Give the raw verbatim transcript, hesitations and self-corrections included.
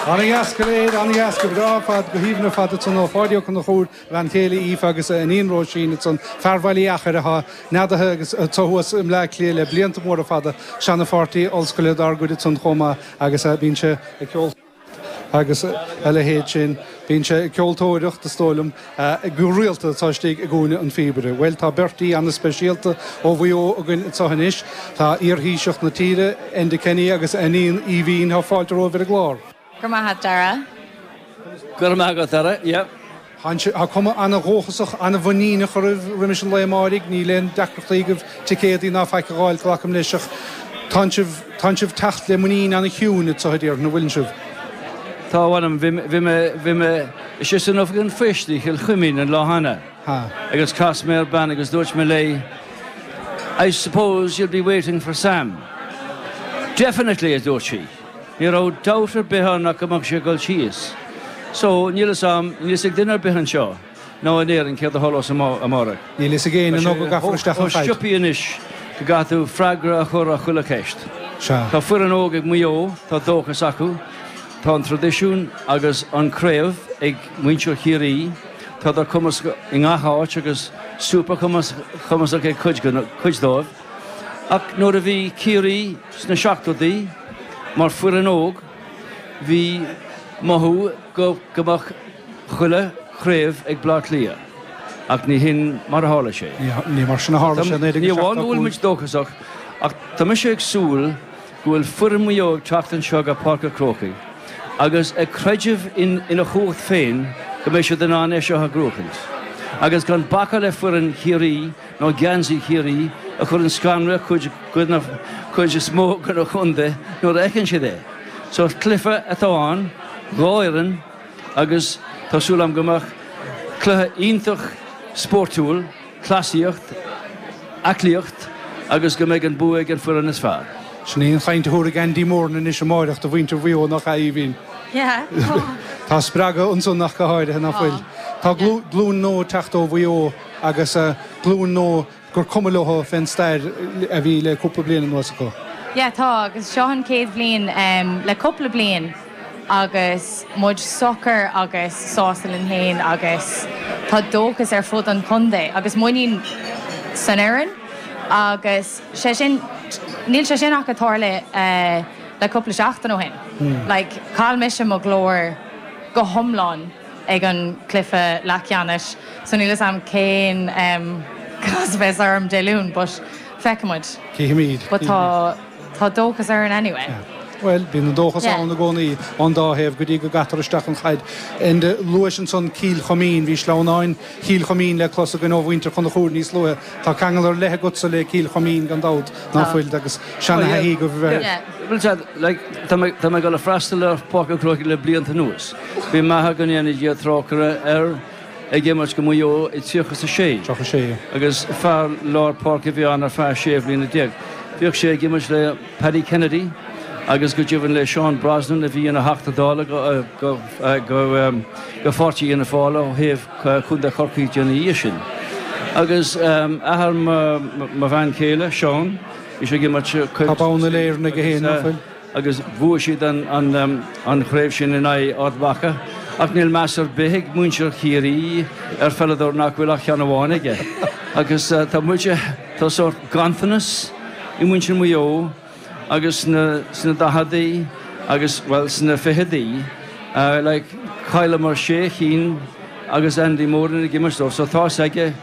An-dheas go léir, an-dheas go breá ar fad, go haoibhinn ar fad ansan ó Pháidí Ó Conchúir, bhean chéile Aoife agus a iníon Róisín ansan, fear Bhaile Uí Achair atá neadaithe agus atá thuas i mBleá Cliath le blianta móra fada, seana-pháirtí ollscoile dár gcuid ansan chomh maith agus bíonn sé ag ceol agus a leithéid sin. Bíonn sé ag ceoltóireacht is dóigh liom go rialta tá istigh i gCúinne an Phíobaire. Well tá beirt aoi an-speisialta ó Mhaigh Eo againn anseo anois. Tá iarthaoiseach na tíre, Enda Kenny agus a iníon Aoibhín. Tá fáilte romhaibh ar an gclár. Go maith Dara. Go maith go Dara, yeah. Tá cuma an-dhóchasach, an-mhuiníneach oraibh roimis an lá amáirigh, níl aon deacrachtaí agaibh ticéadaí ná faic a fháil, glacaim leis ach tá sibh tá sibh teacht le muinín an-chiúin anseo a déarfainn, an bhfuil sibh. Tá bham bhí bhí mé sé san oifig an phoist i Cill Chuimín an lá cheana. Agus chas mé ar bean agus dúirt mé léi, I suppose you'll be waiting for Sam. Definitely, a dúirt sí. Ní raibh dabht ar bith ann go mbeadh sé dul síos. So níl am níos ag duine ar bith anseo nó in Éirinn céard a tharlós amárach. Níl fhios ag éinne nó go gcaithfear isteach an chaid. Siopaí anois go gcaithfidh tú freagra a chur ar chuile cheist. Tá foireann óg ag Maigh Eo, tá dóchas acu, tá an traidisiún agus an craobh ag muintir Chiarraí, Tá dar cumas i ngach áit agus super cumasach ag cuid cuid dóibh. Ach nuair a bhí Ciarraí sna seachtóidí mar foireann óg, bhí mothú go go mbeadh chuile chraobh ag Bleá Cliath. Ach ní hin mar a tharla sé. Ní mar sin a tharla sé. Ní amháin go bhfuil muid dóchasach ach tá mise ag súil go bhfuil foireann Mhaigh Eo ag teacht anseo go Páirc an Chrócaigh, agus ag creideamh in ina chumhacht féin go mbeidh siad in ann é seo a bhuachaint. Agus gan bacadh le foireann Chiarraí nó geansaí Chiarraí a chuireann scanradh cuid cuid is mó den chontae nuair a fheiceann siad é. So cluiche atá ann, dhá fhoireann agus tá súil agam go mbeadh cluiche iontach spórtúil, cleasaíocht, aclaíocht agus go mbeidh an bua ag an foireann is fearr. Sin í an chaint a thabharfaidh Andy Moran anois amárach do mhuintir Mhaigh Eo nach ea, Aoibhín. Tá spreagadh ansan nach go háirithe nach bhfuil. Tá glúin nua teacht ó Mhaigh Eo agus glúin nua gur cuma leo fén stair a bhí le cúpla bliain anuas acu. Yeah, tá agus seo an chéad bhliain um, le cúpla bliain agus muid socair agus sásta linn féin agus tá dóchas ar fud an chontae agus muinín san fhoireann agus sé sin níl sé sin ach tarlaithe uh, le cúpla seachtain ó shin. Hmm. Like, chaill mise mo ghlór go hiomlán ag an cluiche leathcheannais, so níl a fhios agam cén um, cás bheas orm Dé Luain, but feicfimid. Cífimid. But tá tá dóchas ar an anyway. Yeah. Well, bíonn an dóchas ann i gcónaí an dá thaobh go dtí go gcaitear isteach an chaid. Enda, luais ansan Cill Choimín, bhí sleamhnáin Chill Choimín le clos againn ó mhuintir Chonchúir níos luaithe. Tá ceangal ar leith agatsa le Cill Choimín gan dabht ná fuil agus seana go bheith. Well, tá mé ag freastal ar Pháirc an Chrócaigh le blianta anuas. Bhí maith go ndéana Dia trócaire air ag imirt do Mhaigh Eo i tríocha a sé. sé. Agus fear lár páirce a bhí ann ar feadh sé bliana déag. Bhíodh sé ag imirt le Paddy Kennedy agus go deimhin le Seán Brosnan a bhí ina Theachta Dála go go go go Pháirtí Fhianna Fáil ó thaobh Chontae Chorcaí ina dhiaidh sin. Agus athair mo bhean chéile Seán, bhí sé ag imirt Tá bonn uile-Éireann aige féin nach bhfuil. agus bhuaigh siad an, an, an chraobh sin in aghaidh Ard Mhacha, ach níl meas ar bith ag muintir Chiarraí ar pheileadóir nach bhfuil ach ceann amháin aige. Agus uh, tá muide tá sórt ganntanas i muintir Mhaigh Eo agus na sna daicheadaí agus well sna fichidí uh, like, chailleamar sé cinn agus Andy Moran ag imirt so tá aige